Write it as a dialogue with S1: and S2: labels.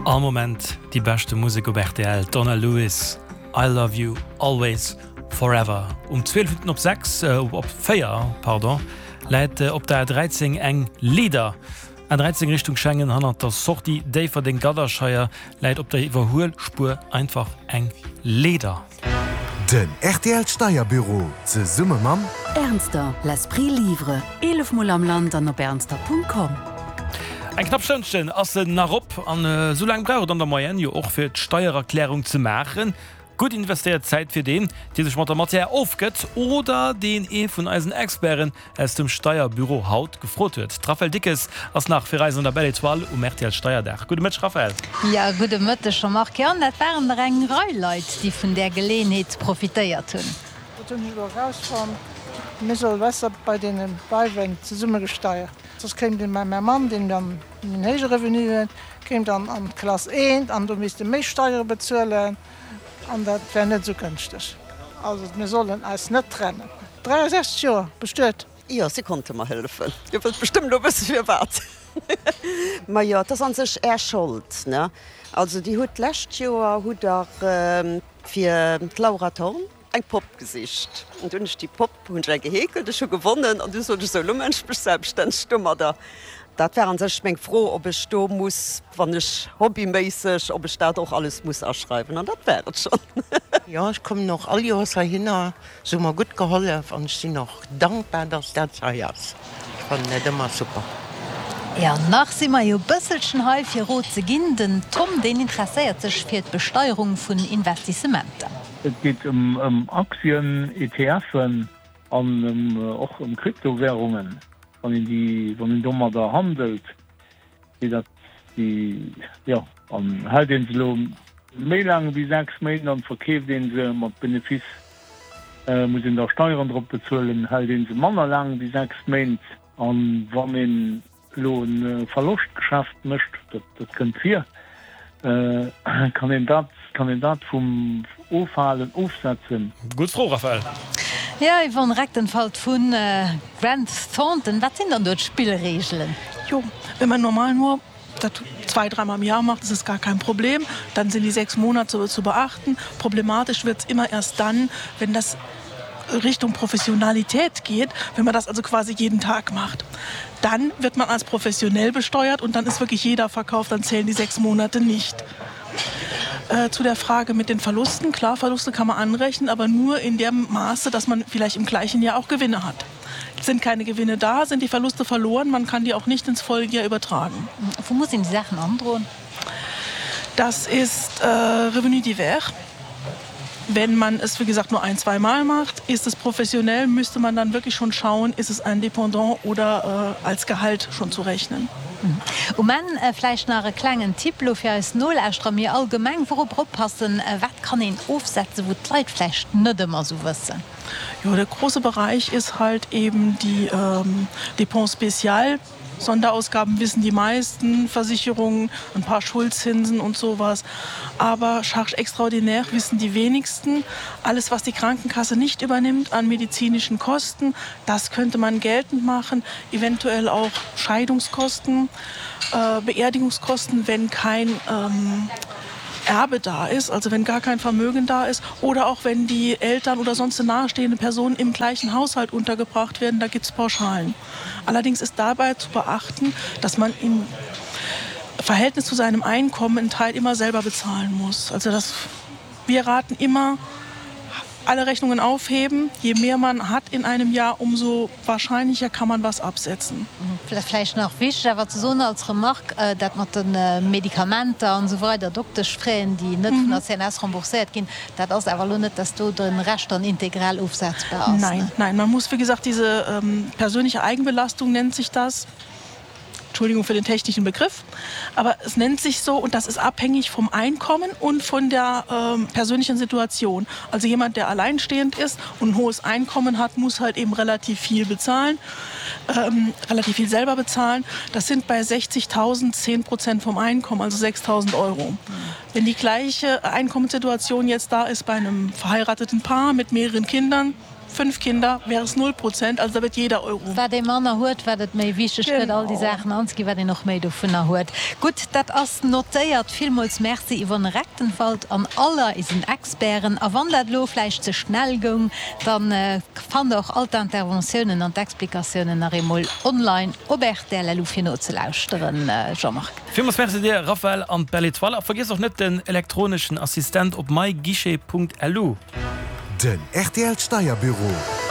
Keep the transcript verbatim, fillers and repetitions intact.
S1: All Moment déi beschte Musek op rtl, Donna Lewis, I Love You Always Forever. Um zwielef Minutten op sechs, op véier, pardon, läit op der A dräizéng eng Leeder. A dräizéng Richtung Schengen, hannert der Sortie Déifferdeng-Gadderscheier läit op der Iwwerhuelspuer einfach eng Leeder.
S2: Den rtl Steierbüro zesumme mam.
S3: Ernster, l'esprit livre, eelef mol am Land an op ernster Punkt com.
S1: Eng knapp Stënnchen ass en nach op an esou laang brauch et an der Moyenne jo och fir d'Steiererklärung ze maachen. Gutt investéiert Zäit fir deen, dee sech mat der Matière ofgëtt oder deen ee vun eisen Experten aus dem Steierbüro haut gefrot huet. D'Raphaëlle Dickes ass nach fir eis an der Belle Etoile um R T L Steierdag. Gudde Mëtteg Raphaëlle.
S4: Jo, gudde Mëtteg Jean-Marc. Jo, an dat waren der eng Rei Leit, déi vun där Geleeënheet profitéiert hunn.
S5: Dat hunn ech elo erausfonnt, mir solle besser bei deene Beiwen zesumme gesteiert, soss kéim de mäi Mann, deen dann en héije Revenu huet, kéim dann an d'Klass eent an do misst e méi Steiere bezuelen. An dat wär net esou gënschteg. Also mir sollen eis net trennen. dräiasechzeg Joer, bestuet.
S6: Jo, si konnte mer hëllefen. Dir wëllt bestëmmt elo wësse firwat. Majo, et ass an sech Är Schold, ne? Also Dir hutt d'lescht Joer hutt Der fir d'Laura Thorn eng Popp gesicht. An du hunn ech déi Popp hunn ech eng geheekelt, ech hu gewonnen an du sot ech, sou elo maachen ech mech selbststänneg domadder. Dat war an sech meng Fro, ob ech do muss, wann ech hobbyméisseg, ob ech dat och alles muss aschreiwen. An dat war et schonn.
S7: Jo, ech kommen och all Joers heihinner. Se hu mer gutt gehollef an ech sinn och dankbar, dass dat hei ass. Ech fannen et ëmmer super.
S4: Jo, nach si mer jo bësselchen hei fir Rot ze ginn. Den Tom, deen interesséiert sech fir d'Besteierung vun Investissementer.
S8: Et geet ëm Aktien, E T F'en an och ëm Kryptowärungen. Wann een déi, wann een domadder handelt, wéi dat déi, jo, an hält een se elo méi laang wéi sechs Méint an verkeeft een se mat Benefice, muss een da Steieren drop bezuelen. Hält een se manner laang wéi sechs Méint an wann een elo e Verloschtgeschäft mécht, dat dat kënnt vir, kann een dat, kann een dat vum Ofhalen ofsetzen?
S1: Gutt Fro, Raphaëlle.
S4: Jo, Yvonne Rechtenfalt vu Grant Thornton, wat sinn dann do d'Spillreegelen?
S9: Jo, wenn man normal nur dat zwei, dreimal im Jahr macht, ist es gar kein Problem. Dann sind die sechs Monate zu beachten. Problematisch wird es immer erst dann, wenn das Richtung Professionalität geht, wenn man das also quasi jeden Tag macht. Dann wird man als professionell besteuert und dann ist wirklich jeder Verkauf, dann zählen die sechs Monate nicht. Äh, zu der Frage mit den Verlusten. Klar, Verluste kann man anrechnen, aber nur in dem Maße, dass man vielleicht im gleichen Jahr auch Gewinne hat. Sind keine Gewinne da, sind die Verluste verloren, man kann die auch nicht ins Folgejahr übertragen.
S4: Wou muss een déi Saachen androen?
S9: Das ist äh, Revenu divers. Wenn man es, wie gesagt, nur ein, zwei Mal macht, ist es professionell, müsste man dann wirklich schon schauen, ist es ein Dependant oder äh, als Gehalt schon zu rechnen.
S4: Um Enn vläicht nach e klengen Tipp lo fir eis Nolauschterer, mee allgemeng, wourop oppassen, wat kann een ofsetzen, wou d'Leit vläicht net ëmmer sou wëssen?
S9: Jo, der große Bereich ist halt eben die ähm, Dépenses spéciales. Sonderausgaben wissen die meisten, Versicherungen, ein paar Schuldzinsen und sowas. Aber Charges extraordinaires wissen die wenigsten. Alles, was die Krankenkasse nicht übernimmt an medizinischen Kosten, das könnte man geltend machen. Eventuell auch Scheidungskosten, äh, Beerdigungskosten, wenn kein ähm, Erbe da ist, also wenn gar kein Vermögen da ist oder auch wenn die Eltern oder sonst nahestehende Personen im gleichen Haushalt untergebracht werden, da gibt es Pauschalen. Allerdings ist dabei zu beachten, dass man im Verhältnis zu seinem Einkommen einen Teil immer selber bezahlen muss. Also das, wir raten immer, alle Rechnungen aufheben. Je mehr man hat in einem Jahr, umso wahrscheinlicher kann man was absetzen.
S4: Vläicht nach wichteg awer ze soen als Remarque, dat mat de Medikamenter an esou weider, Dokteschfraisen, déi net vun der C N S rembourséiert ginn, dat ass awer elo net, dass do de Rescht dann integral ofsetzbar ass.
S9: Nein, nein, man muss, wie gesagt, diese ähm, persönliche Eigenbelastung nennt sich das. Entschuldigung für den technischen Begriff, aber es nennt sich so und das ist abhängig vom Einkommen und von der ähm, persönlichen Situation. Also jemand, der alleinstehend ist und ein hohes Einkommen hat, muss halt eben relativ viel bezahlen, ähm, relativ viel selber bezahlen. Das sind bei sechzigtausend zehn Prozent vom Einkommen, also sechstausend Euro. Wenn die gleiche Einkommenssituation jetzt da ist bei einem verheirateten Paar mit mehreren Kindern, Fünf Kinder wäre es null Prozent, also da wird jeder Euro.
S4: Wat ee manner huet, wat et méi wichteg gëtt, all déi Saachen anzeginn, wat een och méi dovunner huet. Gutt, dat ass notéiert. Villmools Merci Yvonne Recktenwald an aller isen Experten. A wann dat elo vläicht ze schnell goung, da fannt der och all d'Interventiounen an d'Explikatiounen nach eemol online op rtl.lu fir nozelauschteren. Jean-Marc.
S1: Villmools Merci dir Raphaël an d'Belle Etoile. A vergiesst och net den elektroneschen Assistent op myguichet.lu.
S2: Den rtl Steierbüro.